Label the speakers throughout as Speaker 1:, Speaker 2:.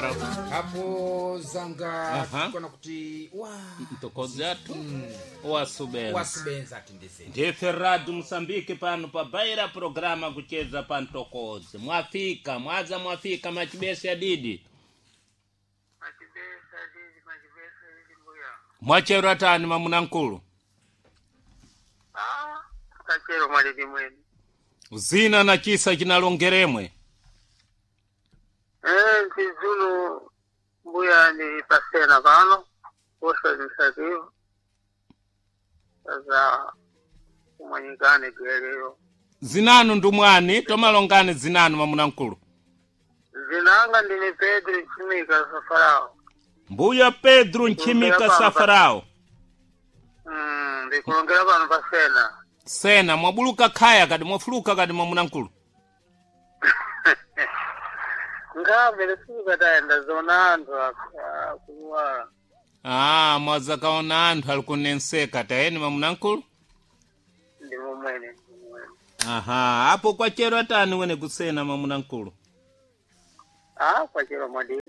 Speaker 1: Safarao?
Speaker 2: Apo zanga tikona kuti wa
Speaker 1: Mtokozi athu wasubenza.
Speaker 2: Wasubenza atindizeni.
Speaker 1: Ndife Radio Mosambiki pano pabaira programa kucheza pa mtokozi. Mwafika mwaza, mwafika machibesi adidi.
Speaker 3: Machibesa didi, machibesa didi mbuya.
Speaker 1: Mwachero atani mamuna nkulu?
Speaker 3: Ah, kachero mwalidi mwene.
Speaker 1: Zina na chisa chinalongeremwe.
Speaker 3: Eh, Zulu mbuya ni pasena pano, posto administrativo. Sasa kumanyikane kieleo.
Speaker 1: Zinanu ndumwani tomalongani zinanu mamuna nkulu.
Speaker 3: Zinanga ndine Pedro Nchimika Safarao.
Speaker 1: Mbuya Pedro Nchimika Safarao.
Speaker 3: Ndikulongera pano pasena.
Speaker 1: Sena mwabuluka khaya kadi mwafuluka kadi mwamuna nkulu.
Speaker 3: Ngabe lefika tayenda zona anthu akuwa.
Speaker 1: Ah, mwazakaona anthu ali kunenseka tayeni mamuna nkulu.
Speaker 3: Ndi mumwene, ndi mumwene.
Speaker 1: Aha, apo kwachero atani wene kusena mamuna nkulu.
Speaker 3: Ah, kwachero mwadi.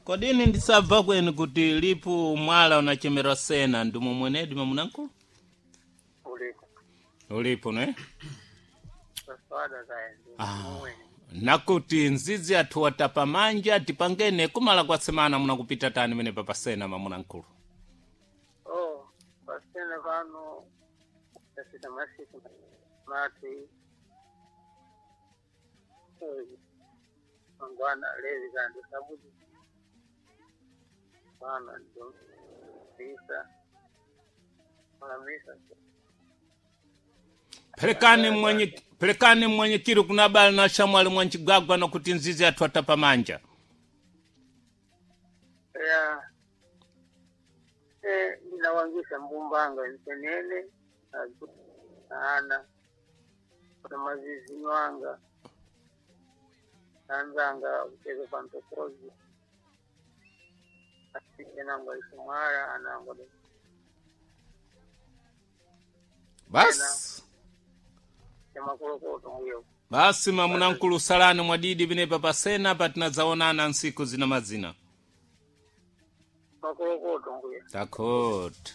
Speaker 1: Kodini ndisabva kwenu kuti lipo mwala unachemerwa sena ndimo mwenedi mamuna nkulu?
Speaker 3: Ulipo.
Speaker 1: Ulipo ne?
Speaker 3: Saswada tayenda.
Speaker 1: Ah.
Speaker 3: Mumwene.
Speaker 1: Nakuti nzizi athu watapa manja tipangene kumala kwa semana munakupita tani mene papasena mamuna nkulu.
Speaker 3: Oh, pasena pano tafika masiku mati mangwana lezi kandi sabuti pano ndo misa misa.
Speaker 1: Pelekani mwenye pelekani mwenye kiri kunabala na shamwali mwanchigwagwa nokuti nzizi athu atapa manja.
Speaker 3: Ya, eh, ndinawangisha mbumbanga nsenene ana na mazizi nwanga nanzanga kucheza pantokozi asike nangwa isumara anangwa.
Speaker 1: Basi.
Speaker 3: Chamakulokoto mbuyo.
Speaker 1: Basi mamuna nkulu salani mwadidi pinepa pasena patinazaonana nsiku zina mazina.
Speaker 3: Makulokoto mbuyo.
Speaker 1: Takota.